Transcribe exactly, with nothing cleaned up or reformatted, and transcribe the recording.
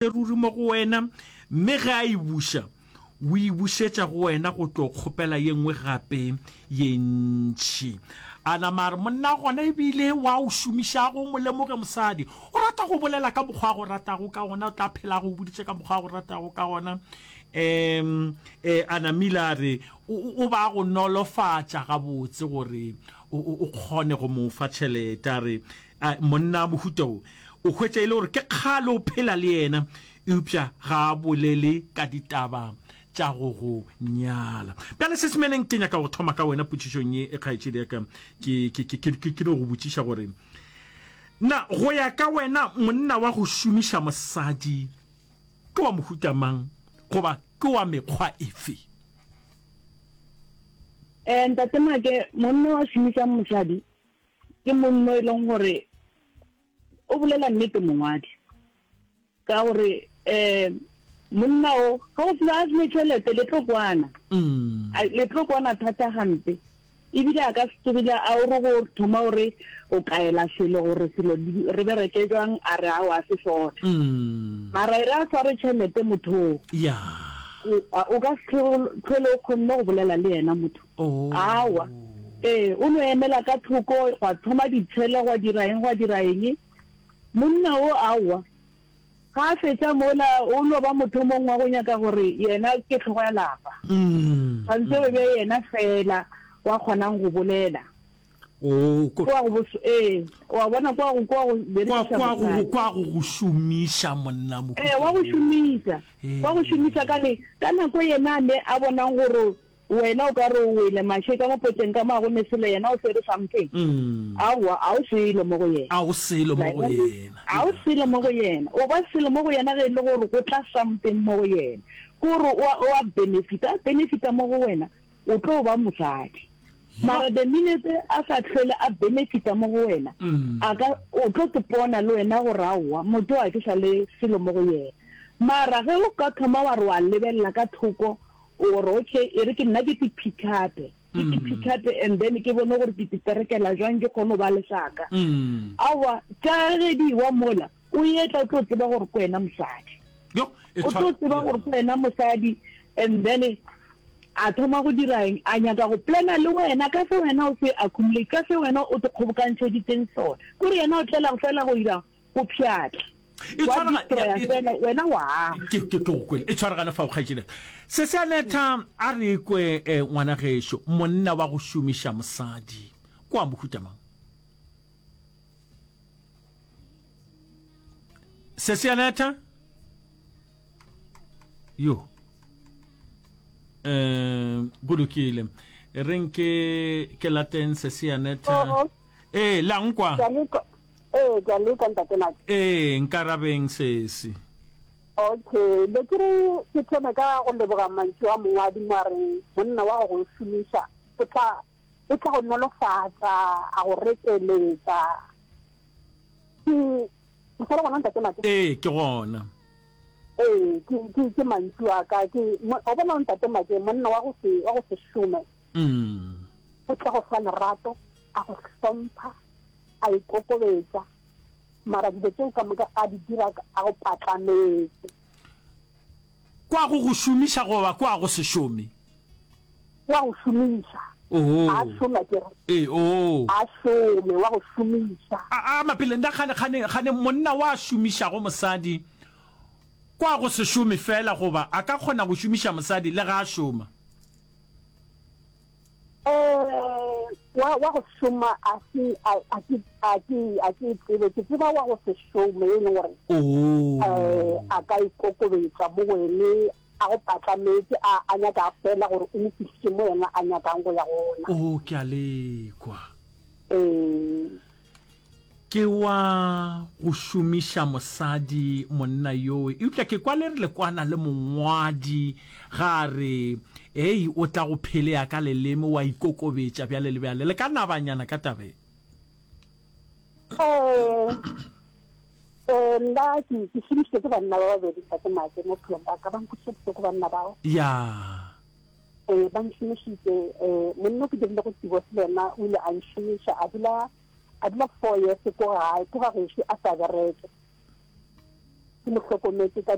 Ruri mo go wena, mme ge a e buša, o e bušetša go wena go tlo kgopela ye nngwe gape ye ntši. A nama a re, Monna gona e bile wa o šomišago, mo lemoge mosadi. O rata go bolela ka mokgwa a go ratago ka gona, o tla phela a go boditše ka mokgwa a go ratago ka gona. Um, e, a namile a re, o, o, o ba go nolofatša gabotse gore o, o, o kgone go mo fa tšhelete. A re, A monna mohuta wo o hwetša e le gore ke kgale o phela le yena, eupša ga a bolele ka ditaba tša go go nyala. Bjale Sesemeleng, ke nyaka go thoma ka wena potšišong ye, kgaetšedi ya ka. Ke, ke, ke, ke, ke no go botšiša gore, na go ya ka wena monna wa go šomiša mosadi ke wa mohuta mang goba ke wa mekgwa efe? Eh, Ntate Make, monna wa šomišang mosadi ke monno e leng gore o bolela nnete mongwadi ka gore um monna o ga o sena a sene tšhelete le tlo kwana Mm. A- le tlo kwana thata gampe ebile a ka se tsogile a o re go thoma gore o kaela selo gore selo di- re bereke jwang a re ao a se sona Mm. mara e re a sware tšhelete motho o Ya. o a- o ka se tlhole tlhole o kgonne go bolela le yena motho Oh. awa ee o no emela ka thoko gwa thoma ditshele gwa dira eng gwa dira eng monna o aowa ga a fetša mola o no ba motho mongwe wa go nyaka gore yena ke tlhogo ya lapa Mm. tshwanetse o be yena fela wa kgonang go bolela Oh, ko- kwa go bos- ee wa bona kwa go kwa go kwa berekiša kwa go mosadi kwa go go šomiša monna mohuta ee wa go wo. šomiša wa go šomiša ka le ka nako yena ne a bonang gore wena o ka re o wele mashe ka mo potleng ka mo a go ne selo yena o swere something Mm. aowa a o selo mo go yena A o selo mo go yena. a o selo mo go yena o ba selo mo go yena ge e le gore go tla something mo go yena ke gore o a- o a benefita a benefita mo go wena o tlo ba mosadi mara the minute a sa tlhole a benefita mo go wena Mm. a ka o tlo tepona le wena gore aowa motho a ke sa le selo mo go yena mara ge o ka thoma wa re wa lebelela ka thoko o re okay e re ke nna ke te pick up-e ke te pick up-e and then ke bone gore ke te perekela jwang ke kgone go ba le saka Mm. aowa tša ge di wa mola o etla o tlo tseba gore ke wena mosadi Yo, e o tlo tshwa- tseba gore ke wena mosadi and then a thoma go dira eng a nyaka go plana le wena ka se wena o se accumulate ka se wena o te kgobokantšheditseng sona kore yena o tlela fela go ira go pšhatla E wa tshwarega- destroya ya, e- fela wena wa ke ke ke go kwele e tshwaragane fao kgaetšedi se se anetha a re kwe eh, ngwana gešo monna wa go šomiša mosadi kwa mohuta mang se se anetha yo um go lokile re nke ke lateng se se anetha Oo. ee la nkwa Ke a leka ee ke a leka ntate Maki. ee nkarabeng sesi Okay, be ke re ke thome ka go leboga mantšu a mongwadi mo a reng monna wa go go šomiša o tla o tla go nolofatša a go rekeletša ke o sa le gona ntate Maki? ee ke gona Ee, ke ke ke mantšu a ka ke mo- o bona ntate Maki monna wa go se wa go se šome mm. o tla go fa lerato a go hlompha a ikokobetša mara dilo tseo ka moka a di dira ka- a go patlametse kwa go go šomiša goba kwa go se šome wa go šomiša oho a šoma ke re ee oo a šome wa go šomiša a a mapele nna kgane kgane kgane monna wa šomišago mosadi kwa go se šome fela goba a ka kgona go šomiša mosadi le ga a šoma um wa wa go šoma a se a a ke a ke a ke tsebe ke tseba wa go se šome e leng gore oo um a ka ikokobetša mo wene a go patlametse a a nyaka fela gore o mo fihlise mo yena a nyakang go ya gona o ke a lekwa ee ke wa go šomiša mosadi monna yowe eupša ke kwa le re le kwana le mongwadi ga a re ei o tla go phelea ka leleme wa ikokobetša bjale le bjale le ka nabanyana ka tabe um um nna ke ke šomišitše ke banna ba babedi ntate Make mo bophelong ba ka ba nkwešitše bohloko banna bao ya ee ba nšomišitše um monna o ke dirile go divorce le yena o ile a nšomiša a dula a dula four years ko gae ko ga gešo a sa bereke Ke mo hlokometše ka